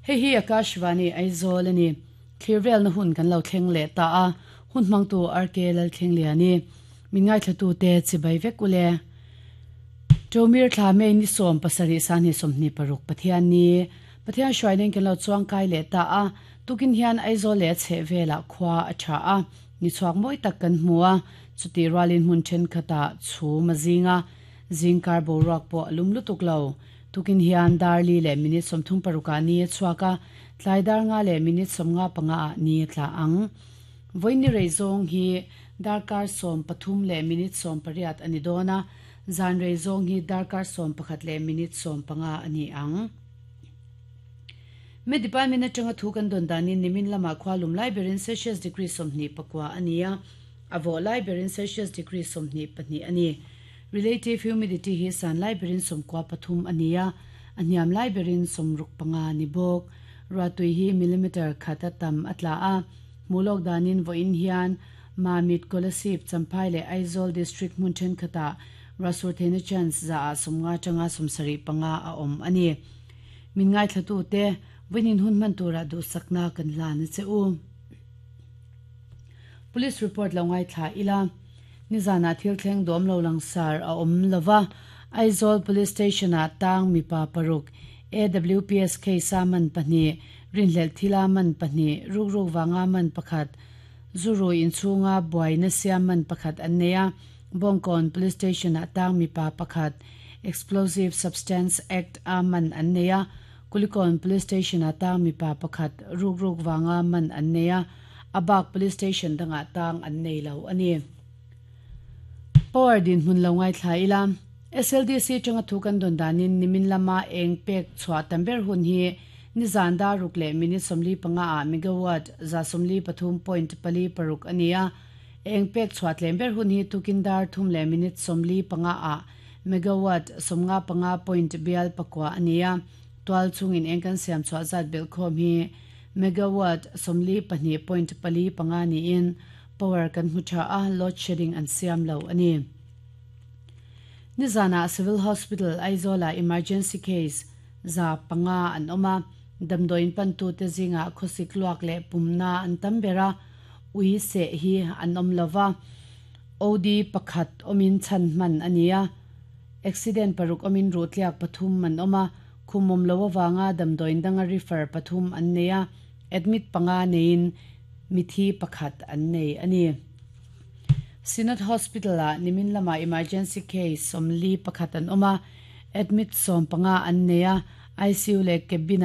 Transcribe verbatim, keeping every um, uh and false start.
Hei hi Akashvani Aizawl ani. Thlir na hun kan lo thleng leh ta a hun hmang tu R K Lal thleng liani min ngai thlatu te chibai vek ule. Tomir thla me ni som pasari san ni som ni paruk Pathian ni Pathian shwainen kan lo chuang kai le ta a tukin hian Aizawl le che vela khwa a tha a ni chuak moi tak kan hmua chuti ralin hun then khata chu mazinga zingkar boruak po lum lutuk lo. Tukin hian darli le minute somthum paruka ni chuaka tlaidar nga le minute somnga panga ni tla ang. Voini reizong hi darkar som pathum le minute som pariat ani dona zan reizong hi darkar som pakhat le minute som panga ani ang. Me department atanga thu kan don danin nimin lama khwalum lai berin Celsius degree somni pakwa ania avo lai berin Celsius degree somni pahnih ani. Relative humidity hi san lai berin somkwa pathum ania aniam lai berin somruk panga ni bok. Ratui hi millimeter khata tam atla a mulok danin vo in hian Mamit, Kolasib, Champhai le Aizawl district mun then khata rasur thena chance za a somnga tanga somsari panga a om ani. Min ngai thlatu te winin hun man tura du sakna kan la na che u. Police report lo ngai thla ila. Nizana thil thleng dom lo lang sar a om lova. Aizawl Police Station a tang mi pa paruk A W P S K saman pahni rinhlel thila man pahni ruk ruk wanga man pakhat zuru in chunga buaina siam man pakhat an neia. Bongkon Police Station a tang mi pa pakhat Explosive Substance Act a man an neia. Kulikon Police Station a tang mi pa pakhat ruk ruk wanga man an neia. Abak police station danga tang an nei lo ani. Power din hun lo ngai thla ila. S L D C changa thu kan don danin nimin lama eng pek chhuwa tamber hun hi ni zan da ruk le minute somli panga a megawatt za somli pathum point pali paruk ania. Eng pek chhuwa tlember hun hi tukin dar thum le minute somli panga a megawatt somnga panga point bial pakwa ania. Twal chungin eng kan siam chhuwa zat bel khom hi megawatt somli pahnih point pali panga ni in power kan hu tha a load shedding an siam lo ani. Nizana Civil Hospital Aizola emergency case za panga an oma. Damdoin pan tu te zinga khosik luak le pumna an tambera ui se hi an om lova. O D pakhat omin chan man ania. Accident paruk omin rutliak pathum man oma. Khumom lo wanga damdoin danga refer pathum an neya. Admit panga nein mithi pakhat an nei ani. Synod Hospital a nimin lama emergency case somli pakhat an oma. Admit som panga an neya. I C U le cabin.